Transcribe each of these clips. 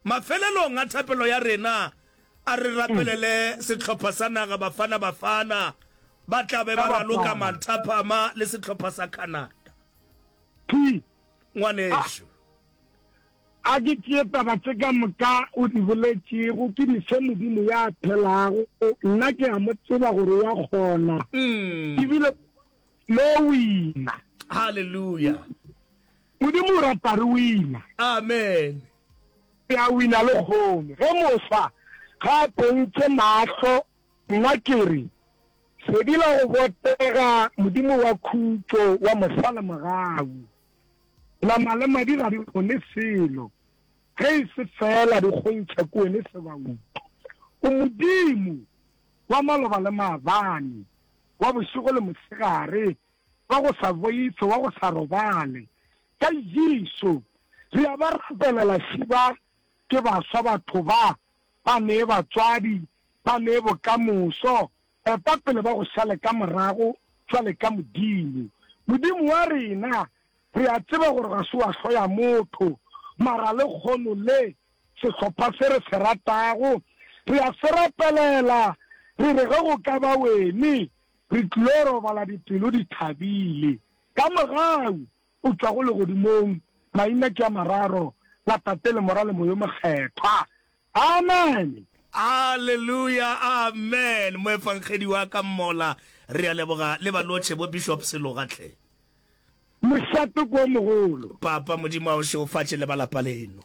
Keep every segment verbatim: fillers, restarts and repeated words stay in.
Mafelelong a thapelo ya rena, a re rapelele sehlopha sa naga Bafana Bafana, ba tla be ba raloka manthapama le sehlopha sa Canada. P. Ngwanešu. A ke tšee taba tše ka moka o di boletšego, ke di fe Modimo ya phelago. Nna ke a mo tseba gore o a kgona, ebile lo wina. Haleluya. Modimo o rata re wina. Amen. Re a wina lekgono. Ge mofsa ga a pontše mahlo, nna ke re, Sedi la go botega, Modimo wa khutšo, wa mosa le mogau. Nama le madi ga di kgone selo, ge e se feela di kgontšha ke wene sebauto. O Modimo wa maloba le maabane, wa bošego le mosegare, wa go sa boife, wa go sa robale. Ka Jesu, re a ba rapelela šiba ke baswa batho ba, ba nee batswadi, ba nee bokamoso, eta pele ba go šale ka morago, jwale ka Modimo. Modimo wa rena, re a tseba gore ga se wa hloya motho, mara lekgono le, sehlopha se re se ratago, re a se rapelela, re re ge go ka ba wene, re tlilo robala dipelo di thabile. Ka mogau o tšwago legodimong, maina ke a mararo, la Tate le Morwa le Moyo Mokgethwa. Amen. Hallelujah amen moefangedi wa ka mmola re a leboga le balotšhe bo Bishop Seloga hle. Mošate ke o mogolo. Papa Modimo a o šegofatše le ba lapa leno.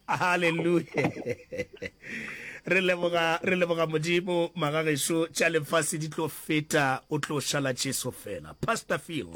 Hallelujah re leboga re leboga Modimo magagešo tša lefase di tlo feta o tlo šala Jesu fela Pastor Phil.